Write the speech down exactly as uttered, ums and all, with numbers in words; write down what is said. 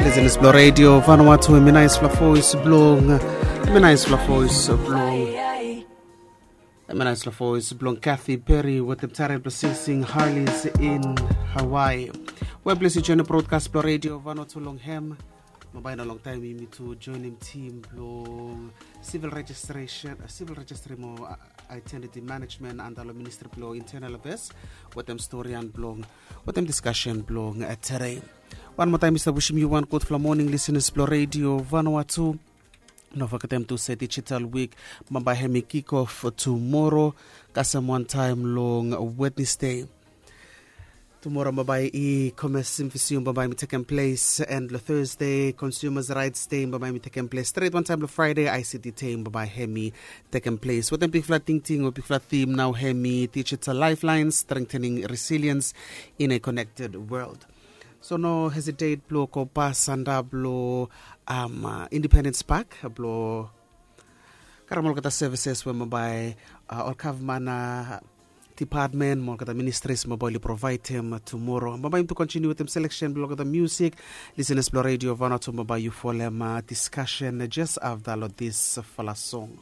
Listeners blong Radio Vanuatu, hemi naesfala voes blong, hemi naesfala voes blong, hemi naesfala voes blong Kathy Perry wetem taren blong singsing Harleys in Hawaii. Wel, ples yu joinim brodkas blong Radio Vanuatu long hem. Bambae i no longtaem yumi tu joinim tim blong civil registration, uh, civil registry mo uh, identity management anda long Ministri blong Internal Affairs wetem storian blong, wetem diskasen blong uh, tere. Wan moa taem mi stap wisim yu wan gudfala moning, listeners blong Radio Vanuatu. No fogetem tu se digital week bambae hemi kick off tumoro kasem wantaem long Wednesday. Tumoro bambae e-commerce symposium bambae hemi tekem ples, and long Thursday consumers rights day bambae hemi tekem ples, stret wantaem long Friday I C T day bambae hemi tekem ples. Wetem bigfala tingting o bigfala theme nao hemi digital lifelines, strengthening resilience in a connected world. So no hesitate blong go pas anda blong um, uh, Independence Park blong karem olgeta services we bambae uh, ol gavman uh, department mo olgeta ministries bambae oli provaedem tumoro. Bambae yumi tu continue wetem selection blong olgeta music. Listeners blong Radio Vanuatu, bambae yu folem uh, discussion just afta long disfala song.